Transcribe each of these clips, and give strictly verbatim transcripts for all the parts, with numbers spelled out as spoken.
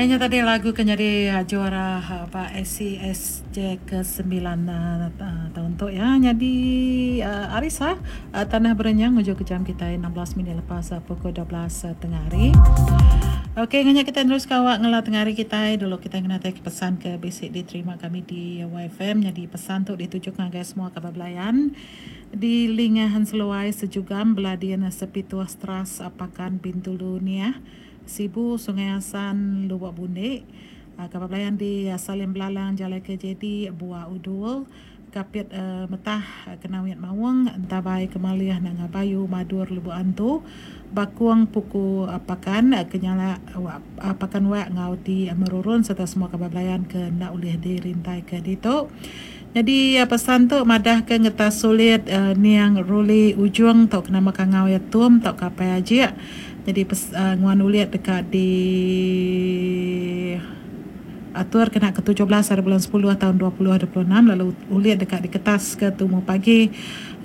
Nya tadi lagu ke nyadi juara ba S C S J ke sembilan taun tu ya. Nyadi Arisa Tanah Berenyang ngujung ke jam kitai enam belas minit lepas pukul dua belas tengah hari. Okey nganya kitai terus kawak ngela tengah hari kitai dulu kitai ngenatai ke pesan ke bisi diterima kami di Y F M. Nyadi pesan tu dituju ngagai semua kaban belayan di Lingahan Seluai Sejugam Beladin Sepituh Stras Pakan Bintulu Niah Sibu Sungai Asan Lubok Bundik kaban belayan di Salim Belalang Jalai K J D Buah Udul Kapit uh, Metah Kenawit Maung Entabai Kemaliah Nanga Bayu Madur Lubok Antu Bakung Puku Pakan Kenyala Pakan Wak ngau di Merurun serta semua kaban belayan ke ndak ulih dirintai ke ditu. Jadi pesan tu madah ke ngetas sulit uh, niang Ruli Ujung tau kena makan ngau ya tum tau kapai ajik. Jadi pes, uh, nguan uliat dekat di atur kena ke tujuh belas hari bulan sepuluh tahun dua ribu dua puluh enam lalu uliat dekat di kertas ke tumu pagi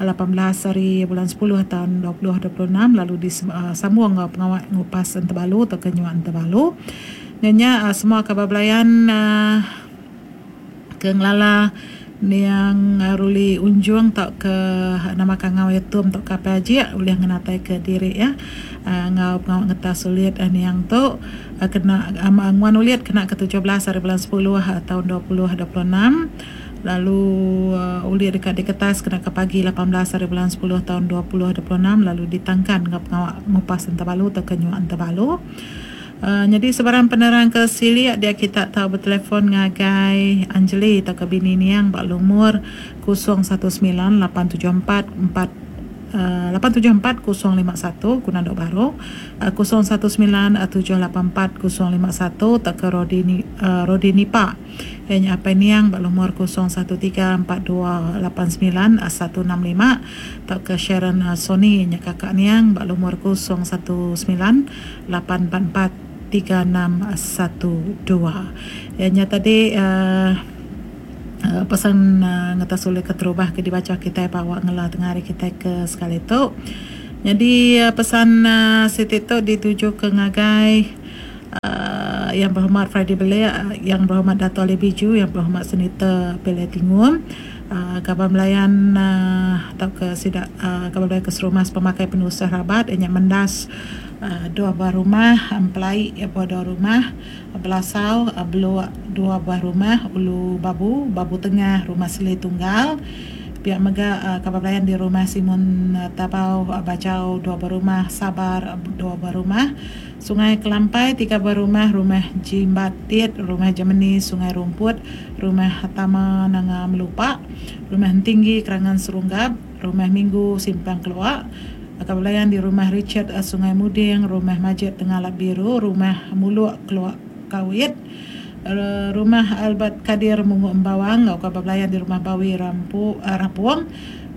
lapan belas hari bulan sepuluh tahun dua ribu dua puluh enam lalu di uh, sambung ngau pengawak ngupas entebalu atau kenyuan entebalu. Nyonya uh, semua kabar belayan uh, ke ngelala niang Ruli Unjung tak ke nama kangau yatum tak ke apa aja boleh ngenatai ke diri ya uh, ngau pengawak ngetas sulit uh, niang tu uh, kena um, nguan uliat kena ke tujuh belas hari bulan sepuluh uh, tahun dua ribu dua puluh enam lalu uh, uliat dekat di kertas kena ke pagi lapan belas hari bulan sepuluh tahun dua ribu dua puluh enam lalu ditangkan ngau pengawak ngupas entebalu atau kenyuan entebalu. Uh, jadi sebarang penerang ke siliak dia kita tahu bertelefon ngagai Anjeli atau ke bini niang bak lumur kosong satu sembilan lapan tujuh empat empat lapan tujuh empat kosong lima satu guna dok baru kosong satu sembilan tujuh lapan empat kosong lima satu tak ke Rodini uh, Rodini Pak hanya apa niang bak lumur kosong satu tiga empat dua lapan sembilan satu enam lima tak ke Sharon uh, Sony nya kakak niang bak lumur kosong satu sembilan lapan empat empat tiga enam satu dua. Nya tadi uh, uh, pesan uh, ngetas oleh keterubah ke dibaca kita bawa ngela tengah hari kita ke sekali tu. Jadi uh, pesan uh, Siti tu dituju ke ngagai uh, yang berhormat Friday Belia, uh, yang berhormat Dato' Ali Biju, yang berhormat Senator Pele Tingum, uh, kaban belayan uh, atau ke sidak uh, kaban belayan ke Serumas pemakai penusah rabat yang mendas Uh, dua buah rumah, empelai ya buah dua rumah, belasau uh, beluak dua buah rumah, ulu babu, babu tengah, rumah seli tunggal. Pihak mega uh, kabar belayan di rumah Simon uh, Tabau uh, Bajau dua buah rumah, Sabar uh, dua buah rumah, Sungai Kelampai tiga buah rumah, rumah Jimbatit, rumah Gemini Sungai Rumput, rumah Tama Nanga Melupak, rumah Tinggi Kerangan Serunggap, rumah Minggu Simpang Keluak. Kabelayan di rumah Richard Sungai Muding, rumah Majid Tengah Biru, rumah Muluk Keluak Kawit, rumah Albert Kadir Mungu Embawang, kabelayan di rumah Bawi Rampu Rapuang,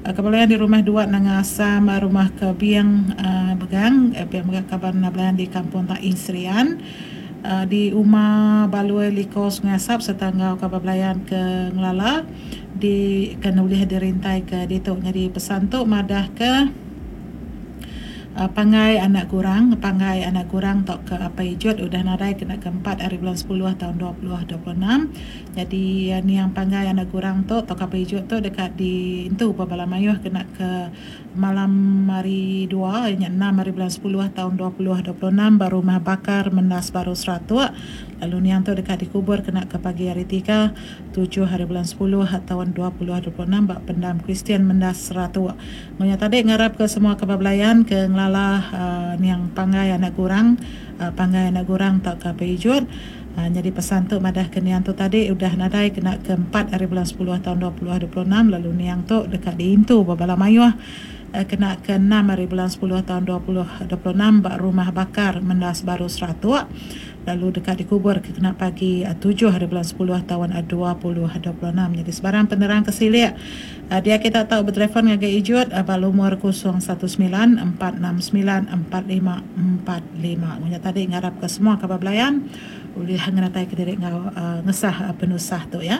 kabelayan di rumah Dua Nanga Asam, rumah Kebiang Begang, pihak mega kaban belayan di Kampung Tak Insrian, di Uma Balui Liko Sungai Asap serta ngau kaban belayan ke Ngelala di kena boleh dirintai ke ditu. Jadi pesan tu madah ke Uh, pangai anak kurang, pangai anak kurang tok ke apa ijut udah nadai kena keempat hari bulan sepuluh tahun dua ribu dua puluh enam. Jadi uh, ni yang pangai anak kurang tok tok apa ijut tu dekat di entu Bala Mayuh kena ke malam hari dua nya enam hari bulan sepuluh tahun dua ribu dua puluh enam baru rumah bakar mendas baru seratus. Lalu ni yang tu dekat dikubur kena ke pagi hari tiga tujuh hari bulan sepuluh tahun dua ribu dua puluh enam bak pendam Kristian mendas seratus. Ngonya tadi ngarap ke semua kebablayan ke ngelala uh, niang pangai anak kurang uh, pangai anak kurang tak ke pejut. Uh, jadi pesan tu madah ke niang tu tadi udah nadai kena ke empat hari bulan sepuluh tahun dua ribu dua puluh enam lalu niang tu dekat diintu Bala Mayuh uh, kena ke enam hari bulan sepuluh tahun dua ribu dua puluh enam bak rumah bakar mendas baru seratus lalu dekat dikubur ke kena pagi tujuh hari bulan sepuluh tahun dua ribu dua puluh enam. Jadi sebarang penerang kesilik dia kita tahu bertelefon ngagai ijut balumur kosong satu sembilan empat enam sembilan empat lima empat lima. Punya tadi ngarap ke semua kabar belayan boleh ngenatai ke diri ngau uh, ngesah uh, penusah tu ya.